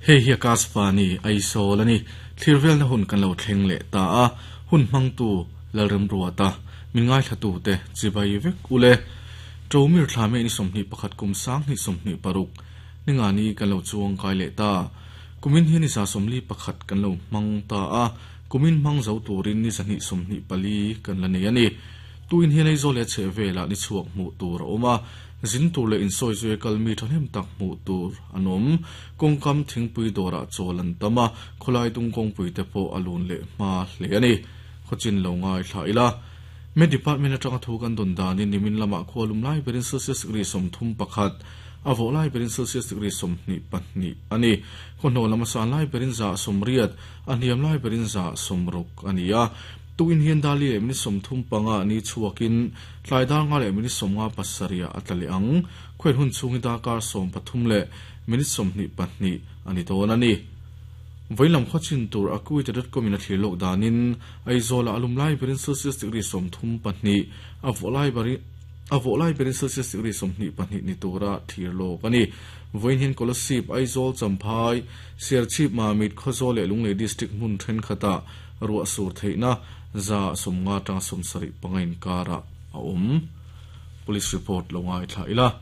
Hei hi Akashvani, Aizawl a ni. Thlir velna hun kan lo thleng leh ta a, hun hmangtu Lalremruata, min ngaithlatute chibai vek ule. Ṭomir thla mei ni 21 kum 2026 ningani kan lo chuang kai leh ta. Kumin hi ni 41 kan lo hmang ta a, kumin hmang zo turin ni 224 kan la nei a ni. Tuin hian Aizawl leh a chhehvelah ni chhuak hmuh tur a awm a, zin tur leh insawi zui a kal mi thahnem tak hmuh tur an awm. Kawngkam thingpui dawrah chawl an tam a, khawlai dung kawngpui te pawh a lun leh hma hle a ni. Khawchin lo ngaithla ila. Met Department atanga thu kan dawn danin nimin lamah khua lum lai berin Celsius degree 31, a vawh lai berin Celsius degree 22 a ni. Khawhnaw lam a san lai berin 180, a hniam lai berin 160 a ni a. Tukin hian Dali leh minute 35 ni chhuakin tlai dar nga leh minute 57 ah a tla leh ang. Khuain hun chhung hi darkar 13 leh minute 22 a ni dawn a ni. Vawilam khawchin tur Akuita.com in a thlir lawk danin Aizawl-ah a lum lai berin Celsius degree 32, a vawh lai berin a vawh lai berin Celsius degree 22 ni tura thlir lawk a ni. Vawiin hian Kolasib, Aizawl, Champhai, Serchhip, Mamit, Khawzawl leh Lunglei District hmun thenkhatah ruah sur theihna 150 atanga 75 inkarah a awm. Police report lo ngaithla ila.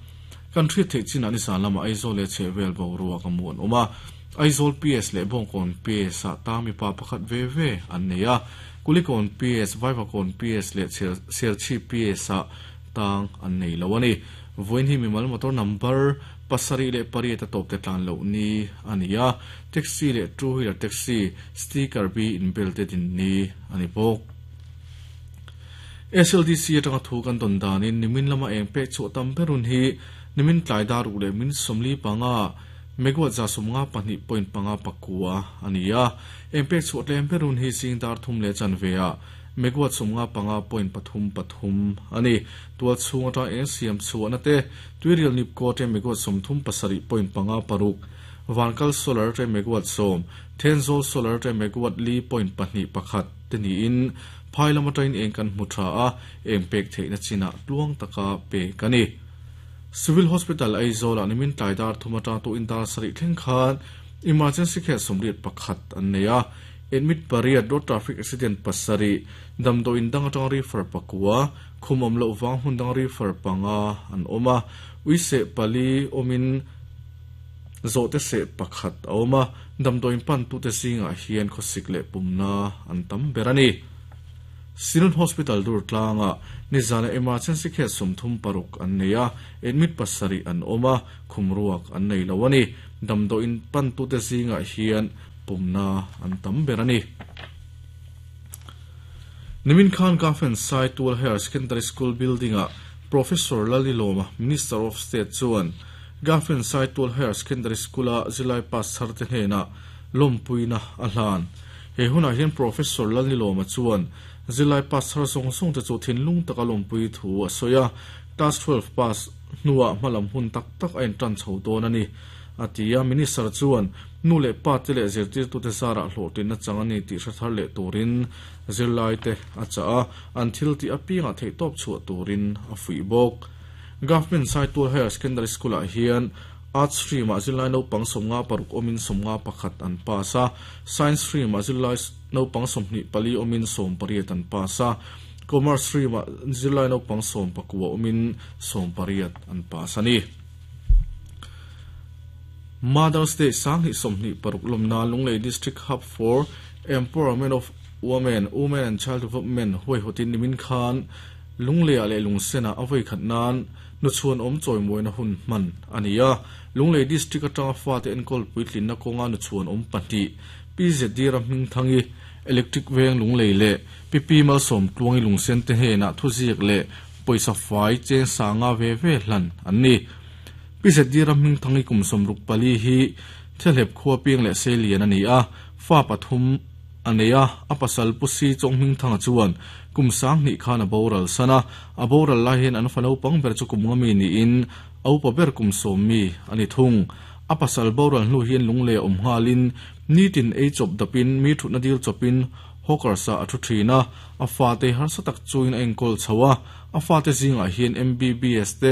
Kan hriat theih chinah nizan lamah Aizawl leh chhehvel boruak a mu an awm a. Aizawl PS leh Bawngkawn PS ah tang mipa pakhat ve ve an nei a. Kulikawn PS, Vaivakawn PS leh Serchhip PS ah tang an nei lo a ni. Vawiin hi mimal motor number 7 leh 8 a tawp te tlan loh ni a ni a. Taxi leh two wheeler taxi sticker bi inbel te din ni a ni bawk. SLDC atanga thu kan dawn danin nimin lama eng pek chhuah tam ber hun hi nimin tlai dar ruk leh minute 45 megawatt 152.59 a ni a. Eng pek chhuah tlem ber hun hi zing dar thum leh chanve ah megawatt 95.33 a ni. Tual chhung atang eng siam chhuahna te tuirial nipko te megawatt 37.56, Vankal solar te megawatt 10, Thenzawl solar te megawatt 4.21 te niin phai lam atangin eng kan hmu tha a, eng pek theihna chinah tluang taka pek a ni. Civil Hospital Aizawl ah nimin tlai dar thum atang tuin dar sarih thleng khan emergency case 81 an nei a, admit 8, road traffic accident 7, damdawiin dang atang refer 9, khum awm loh vang hmun dang refer 5 an awm a, uiseh 4 awmin zawhte seh 1 a awm a, damdawiin pan tute zingah hian khawsik leh pumna an tam ber a ni. Synod Hospital dur tlangah nizana emergency case 36 an nei a, admit 7 an awm a, khum ruak an nei lo a ni. Damdawiin pan tute zingah hian pumna an tam ber a ni. Nimin Khan Government Saitual Higher Secondary School building ah Professor Lalilawma, Minister of State chuan Government Saitual Higher Secondary School a zirlai pass thar te hnenah lawmpuina a hlan. He hunah hian Professor Lalilawma chuan zirlai pass thar zawng zawng te chu thinlung taka lawmpui thu a sawi a, Class 12 pass hnuah hmalam hun tak tak a intan chho dawn a ni, a ti a. Minister chuan nu leh pa te leh zirtirtute zarah hlawhtlinna chang a ni tih hre thar leh turin zirlai te a chah a, an thil tih apiangah theihtawp chhuah turin a fuih bawk. Government Saitual Higher Secondary School ah hian Arts stream ah zirlai naupang 56 awmin 51 an pass a, Science stream ah zirlai naupang 24 awmin 18 an pass a, Commerce stream ah zirlai naupang 19 awmin 18 an pass a ni. Mother's Day 2026 lawmna Lunglei District Hub for Empowerment of Women, Women and Child Development huaihawtin nimin khan Lungleiah leh Lungsenah a vawi khat nan nuchhuan awm chawimuaina hun hman a ni a. Lunglei District atanga fate enkawl puitlinna kawnga nuchhuan awm 2 PZD Ramhmingthangi, Electric Veng Lunglei leh PP Malsawm Tluangi Lungsen te hnenah thuziak leh pawisa fai cheng sanga ve ve hlan an ni. PZD Ramhmingthangi kum 64 hi Thelhep khua piang leh Seilian a ni a, fa 3 a nei a, a pasal Pu Si Chawnghmingthanga chuan kum 2000 khan a boral san a, a boral lai hian an fa naupang ber chu kum nga mi niin a upa ber kum 10 mi a ni thung. A pasal boral hnu hian lunglei a awm nghalin nitin ei chawp dapin mi thutna dil chawpin hawker sa a thu thin a, a fate harsa tak chuin a enkawl chho a, a fate zingah hian MBBS te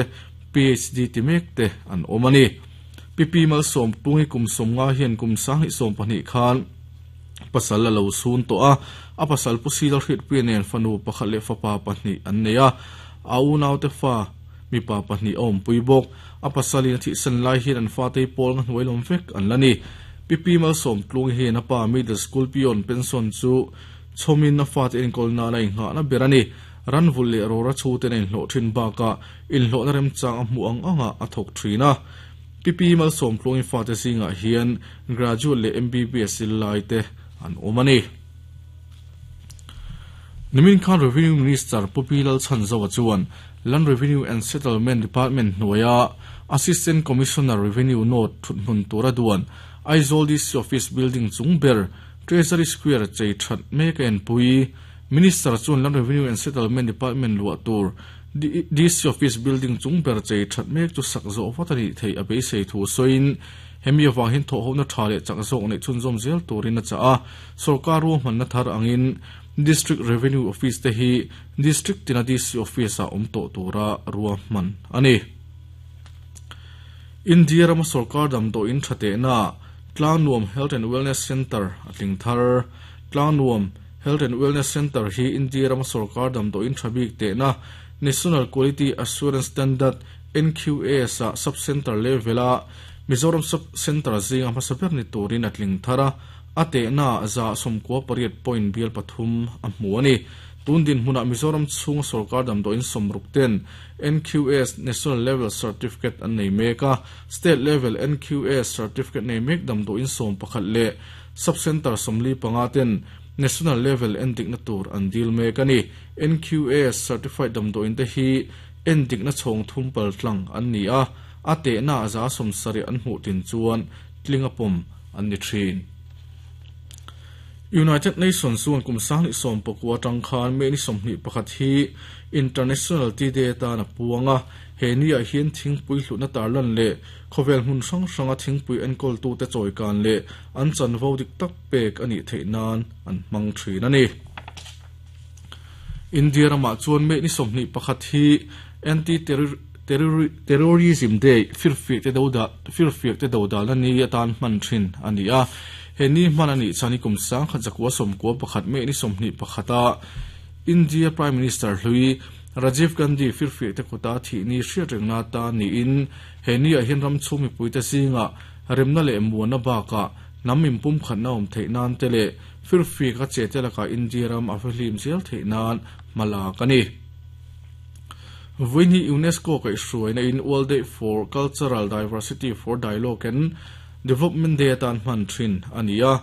PhD ti mek te an awm a ni. Pipi Malsawm Pungi kum 50 hian kum 2020 khan pasal a lo sun tawh a, a pasal Pu Sila Hriatpuia nen fanu pakhat leh fapa pahnih an nei a, a unaute fa mipa pahnih a awmpui bawk. A pasalin a thihsan lai hian an fatei pawl nga hnuai lawm vek an la ni. Pipi Malsawm Tlungi hian a pa Middle School peon pension chu chhawmin a fate enkawl nan a inghahna ber a ni. Ran vulh leh rawra chhuten a inhlawh thin bakah inhlawhna remchang a hmuh ang angah a thawk thin a. Pipi Malsawm Tluangi fate zingah hian graduate leh MBBS zirlai te an awm a ni. Nimin khan Revenue Minister Pu Pi Lalchhanzova chuan Land Revenue and Settlement Department hnuaia Assistant Commissioner Revenue North thuthmun tura duan Aizawl DC Office Building chung ber Treasury Square chei that mek a enpui. Minister chuan Land Revenue and Settlement Department luah tur DC Office Building chung ber chei that mek chu sak zawh vat a nih theih a beisei thu sawiin hemi avang hian thawhhona tha leh chak zawk neih chhunzawm zel turin a chah a. Sorkar ruahmanna thar angin District Revenue Office te hi District tina DC Office ah awm tawh tura ruahman a ni. India rama sorkar damdawiin tha tehna Tlangnuam Health and Wellness Centre a tling thar. Tlangnuam Health and Wellness Centre hi India rama sorkar damdawiin tha bik tehna National Quality Assurance Standard, NQAS, ah sub-centre level-a Mizoram sub-centre zinga hmasa ber ni turin a tling thar a. A tehna 98% point bial pathum a hmu a ni. Tun dinhmunah Mizoram chhunga sorkar damdawiin 60 ten NQS National Level Certificate an nei mek a, State Level NQS Certificate nei mek damdawiin 11 leh Sub-Centre 45 ten National Level endikna tur an dil mek a ni. NQS Certified damdawiin te hi endikna chhawng thum pal tlang an ni a, a tehna 70% an hmuh tin chuan tling a pawm an ni thin. United Nations chuan kum 2019 atang khan May ni 21 hi International Tea Day atan a puang a, he niah hian thingpui hlutna tarlan leh khawvel hmun hrang hranga thingpui enkawltute chawikan leh an chanvo dik tak pek a nih theih nan an hmang thin a ni. India ramah chuan May ni 21 hi Anti-Terrorism Day, firfiakte firfiakte dodalna ni atan hman thin a ni a. He ni hman a nih chuan i kum 1991 May ni 21 a India Prime Minister hlui Rajiv Gandhi firfiakte kuta thih ni hriat rengna atan niin he niah hian ram chhung mipuite zingah remna leh muanna bakah hnam inpumkhatna awm theih nan te leh firfiak a che te lakah India ram a fihlim zel theih nan hma lak a ni. Vawiin hi UNESCO kaihhruaina in World Day for Cultural Diversity for Dialogue and Development Day atan hman thin a ni a.